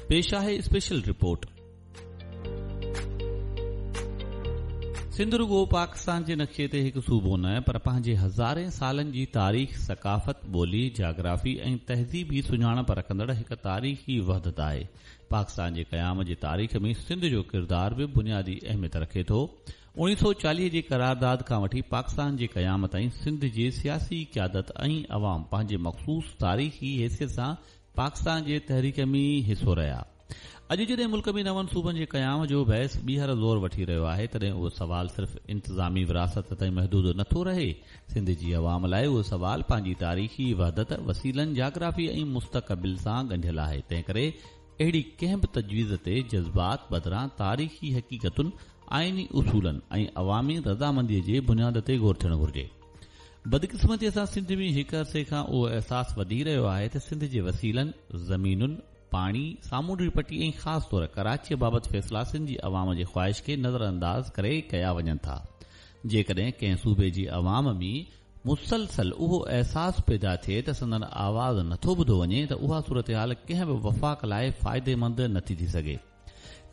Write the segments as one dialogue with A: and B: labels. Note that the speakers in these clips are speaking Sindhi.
A: پيش آهي اسپيشل رپورٽ. سنڌ رڳو پاڪستان جي نقشي تي هڪ صوبو نه پر پنهنجي هزارين سالن جي تاريخ، ثقافت، ٻولي، جاگرافي ۽ تهذيبي سڃاڻپ رکندڙ هڪ تاريخي وحدت آهي. پاڪستان جي قيام جي تاريخ ۾ سنڌ جو ڪردار به بنيادي اهميت رکي ٿو. 1940 جي قرارداد کان وٺي پاڪستان جي قيام تائين سنڌ جي سياسي قيادت ۽ عوام پنهنجي مخصوص تاريخي حيثيت سان پاڪستان جي تحريڪ ۾ حصو رهيا. اڄ جڏهن ملڪ ۾ نون صوبن جي قيام جو بحث ٻيهر زور وٺي رهيو آهي، تڏهن اهو سوال صرف انتظامي وراثت تائين محدود نه ٿو رهي. سنڌ جي عوام لاء اهو سوال پنهنجي تاريخي وحدت، وسيلن، جاگرافي ۽ مستقبل سان ڳنڍيل آهي. تنهنڪري اهڙي ڪنهن به تجويز تي جذبات بدران تاريخي حقيقتن، آئيني اصولن ۽ عوامي رضامنديء جي بنياد تي غور ٿيڻ گهرجي. بدقسمتيء سان سنڌ ۾ هڪ عرصي کان اهو احساس وڌي رهيو آهي ته سنڌ جي وسيلن، زمينن، پاڻي، سامونڊي پٽي ۽ خاص طور ڪراچيء بابت فيصلا سنڌ جي عوام جي خواهش کي نظرانداز ڪري ڪيا وڃن ٿا. جيڪڏهن ڪنهن صوبي جي عوام ۾ مسلسل اهو احساس پيدا ٿئي ته سندن آواز نٿو ٻڌو وڃي ته اها صورتحال ڪنهن به وفاق لاء فائديمند نٿي ٿي سگهي.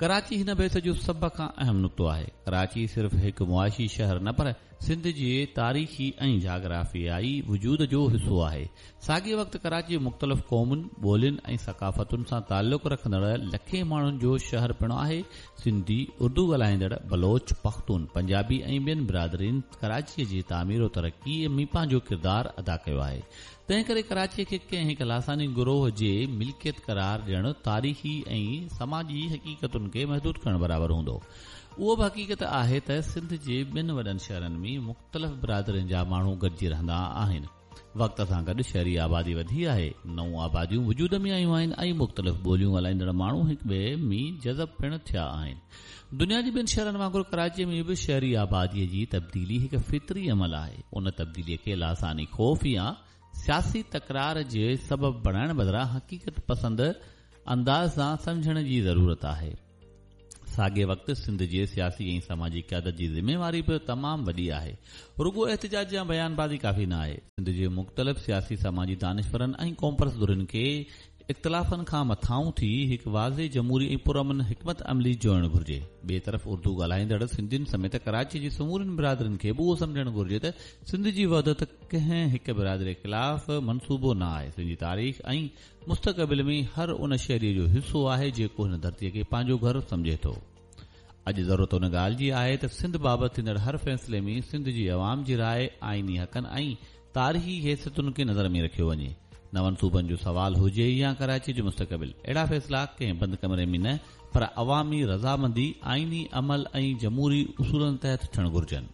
A: ڪراچي هن بحث جو سڀ کان اهم نقطو آهي. ڪراچي صرف هڪ معاشي شهر نه پر سنڌ جي تاريخي ۽ جاگرافيائي وجود جو حصو آهي. ساڳئي وقت ڪراچي مختلف قومن، ٻولين ۽ ثقافتن سان تعلق رکندڙ لکين ماڻهن جو شهر پڻ آهي. سنڌي، اردو ڳالهائيندڙ، بلوچ، پختون، پنجابي ۽ ٻين برادرين ڪراچيء جي تعمير و ترقيء ۾ پنهنجو ڪردار ادا ڪيو آهي. تنهنڪري ڪراچيء کي ڪنهن هڪ لاثاني گروهه جي ملڪيت قرار ڏيڻ تاريخي ۽ سماجي حقيقتن کي محدود ڪرڻ برابر هوندو. اهو به حقيقت آهي ته سنڌ جي ٻين وڏن شهرن ۾ مختلف برادرين جا ماڻهو گڏجي رهندا آهن. وقت سان گڏ شهري آبادي وڌي آهي، نئون آباديون وجود ۾ آيون آهن ۽ مختلف ٻوليون ڳالهائيندڙ ماڻهو هڪ ٻئي ۾ جذب پڻ ٿيا آهن. دنيا جي ٻين شهرن وانگر ڪراچيء ۾ به شهري آباديء جي تبديلي هڪ فطري عمل آهي. ان تبديليء کي لاثاني خوف يا سياسي تڪرار جي سبب بڻائڻ بدران حقيقت پسند انداز سان سمجهڻ جي ضرورت آهي. ساڳئي وقت سنڌ جي سياسي ۽ سماجي قيادت جي ذميواري به تمام وڏي آهي. رڳو احتجاج يا بيان بازي ڪافي نه آهي. سنڌ جي مختلف سياسي سماجي دانشورن ۽ قومپرست ڌرين کي اختلافن کان مٿانهون ٿي هڪ واضح جمهوري ۽ پرامن حڪمت عملي جوڙڻ گهرجي. ٻئي طرف اردو ڳالهائيندڙ سنڌين سميت ڪراچي جي سمورين برادرين کي به اهو سمجهڻ گهرجي ته سنڌ جي وحدت ڪنهن هڪ برادري خلاف منصوبو نه آهي. سنڌ جي تاريخ ۽ مستقبل ۾ هر ان شهري جو حصو آهي جيڪو هن ڌرتي کي پنهنجو گهر سمجهي ٿو. اڄ ضرورت ان ڳالهه جي آهي ته سنڌ بابت ٿيندڙ هر فيصلي ۾ سنڌ جي عوام جي راء، آئيني حقن ۽ تاريخي حيثيتن کي نظر ۾ رکيو وڃي. نون صوبن جو سوال هجي يا ڪراچي جو مستقبل، اهڙا فيصلا ڪنهن بند ڪمري ۾ نه پر عوامي رضامندي، آئيني عمل ۽ جمهوري اصولن تحت ٿيڻ گهرجن.